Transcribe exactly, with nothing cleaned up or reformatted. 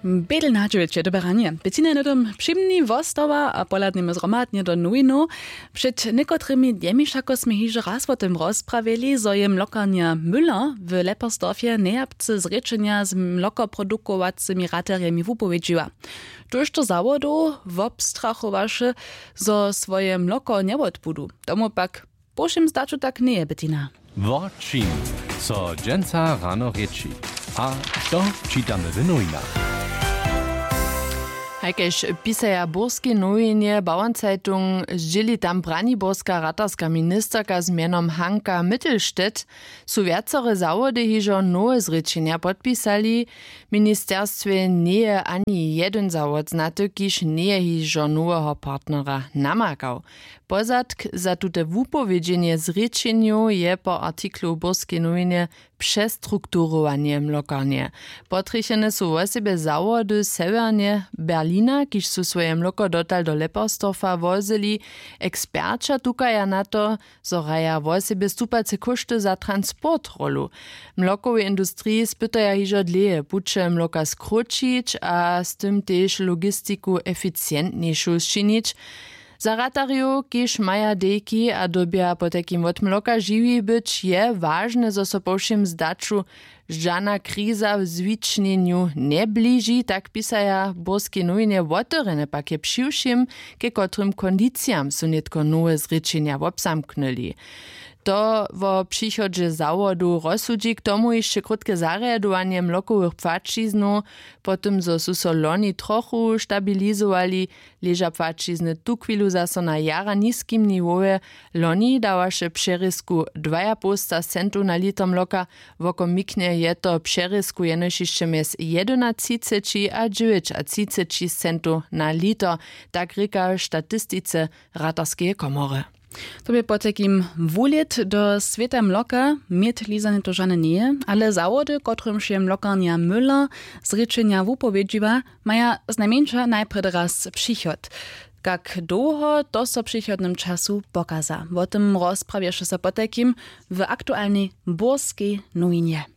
Bědel na dźewjeće doberanje, pěcina je hnydom při mni wostała a pohladnjemy zhromadnje do nowinow. Před někotrymi dnjemi wšako smy hižo raz wo tym rozprawjeli, zo je mlokarnja müller w leppersdorfje nejapcy zrěčenja z mlokoprodukowacymi raterjemi wupowědźiła. Tójšto zawodow wobstrachowaše, zo swoje mloko njewotbudu. Tomu pak po wšěm zdaću tak njeje, Bettina. Wo čim so dźensa rano rěči, a to čitamy w nowinach. Hajkež pisaja w burskej nowinje Bauernzeitung, zdźěli tam braniborska ratarska ministerka z mjenom Hanka Mittelstedt, su wjacore zawody hižo nowe zrěčenja podpisali. W ministerstwje njeje ani jedyn zawod znaty, kiž njeje hižo noweho partnera namakał. Pozadk za tute wupowědźenje zrěčenjow je po artiklu w burskej nowinje přestrukturowanje mlokarnje. Potrjechene su wosebje zawody sewjernje berlina, kiž su swoje mloko dotal do leppersdorfa wozyli. Eksperća tukaja na to, zo hraja wosebje stupace kóšty za transport rolu. W mlokowej industriji spytaja hižo dlěje puće mloka skróćić a z tym tež logistiku eficientnjejšu sčinić. Za ratarjow, kiž maja dejki a dyrbja potajkim wot mloka žiwi być, je wažne, zo so po wšěm zdaću žana kriza w zwičnjenju njebliži, tak pisaja w burskej nowinje. Wotewrjene pak je při wšěm, ke kotrym kondicijam su nětko nowe zrěčenja wobzamknyli. To wo přichodźe zawodow rozsudźi, k tomu hišće krótke zarjadowanje mlokowych płaćiznow. Po tym zo su so loni trochu stabilizowali, leža płaćizny tuchwilu zaso na jara niskim niwowje. Loni dawaše přerězku dwajapołsta centow na liter mloka. Wokomiknje je to přerězku jenož hišće mjez jedynaćiceći a dźewjećaćiceći centow na liter, tak rěka w statistice ratarskeje komory. To bě potajkim wuhlěd do swěta mloka. Měd lizanje to žane njeje, ale zawody, kotrymž je mlokarnja müller zrěčenja wupowědźiła, maja znajmjeńša najprjedy raz přichod. Kak dołho, to so w přichodnym času pokaza. Wo tym rozprawješe so potajkim w aktualnej burskej nowinje.